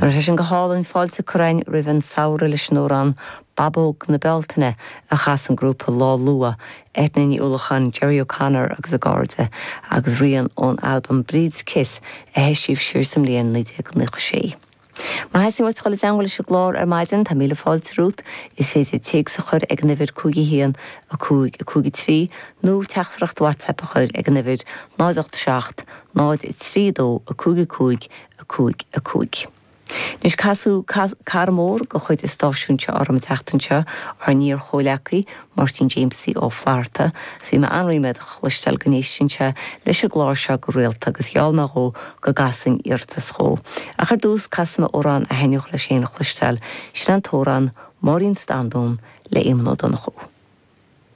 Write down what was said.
Tá sé sin go hálainn, fáilte curtha againn roimh an samhradh leis an amhrán 'Babóg na Bealtaine' a chas an grúpa Lá Luath, Eithne Ní Uallacháin, Gerry O'Connor agus a gcairde, agus rian ón albam Bríd's Kiss a heisíodh siar sa mbliain 1996. Má theastaíonn uait dul i dteangmháil leis an gclár ar maidin, tá míle fáilte romhat. Is féidir téacs a chur ag an uimhir 5 1 5 5 3 nó teachtaireacht WhatsApp a chur ag an uimhir 0 8 7 0 3 2 5 5 5 5. Anois casadh cara mór de chuid an stáisiúin seo orm an tseachtain seo, ár n-iar-chomhleacaí, Máirtín Jamesie Ó Flatharta. 'S bhí mé an-ríméadach a chloisteáil go n-éisteann sé leis an gclár seo go rialta agus gheall mé dhó go gcasfainn iarratas dhó. Ach ar dtús, casfaidh mé amhrán a thaitneodh leis féin a chloisteáil, sin an t-amhrán 'Máirín Standún' le Éamonn Ó Donnchú.